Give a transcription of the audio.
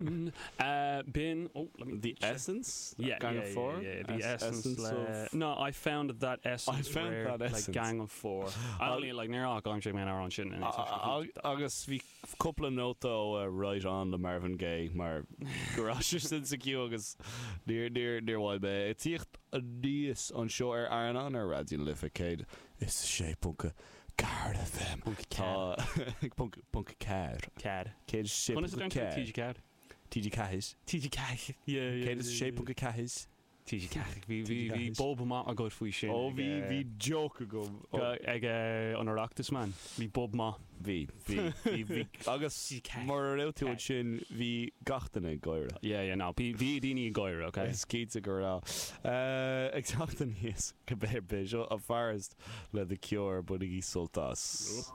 B'in, oh, let me The Essence? Yeah, Gang yeah, of Four? Yeah, yeah, The Es- Essence le, of... No, I found that essence I found rare, that le essence. Gang of Four. I only like níor fhág mé an amhrán sin in Agus bhí cúpla nóta ó Right On le Marvin Gaye mar go raibh sé sin sa queue agus níor níor níor mhaith mé ag tíocht aníos anseo ar Airneán ar Raidió na Life 106.4 FM. Tá ponc ponc ceathair. Ceathair. 106.4. TG4. TG4. TG4. Yeah, yeah. 106.4. TG4. Bhí bhí bhí bob maith agat faoi sin. Ó bhí bhí joke agam. Ag an Oireachtas man. Bhí bob maith. Bhí bhí bhí bhí agus mura raibh tú ansin bhí gach duine ag gáire. Yeah yeah no bhí bhí daoine ag gáire ok. Is cinnte go raibh. Ag teacht aníos go béar bith seo an Forest le The Cure bainigí sult as.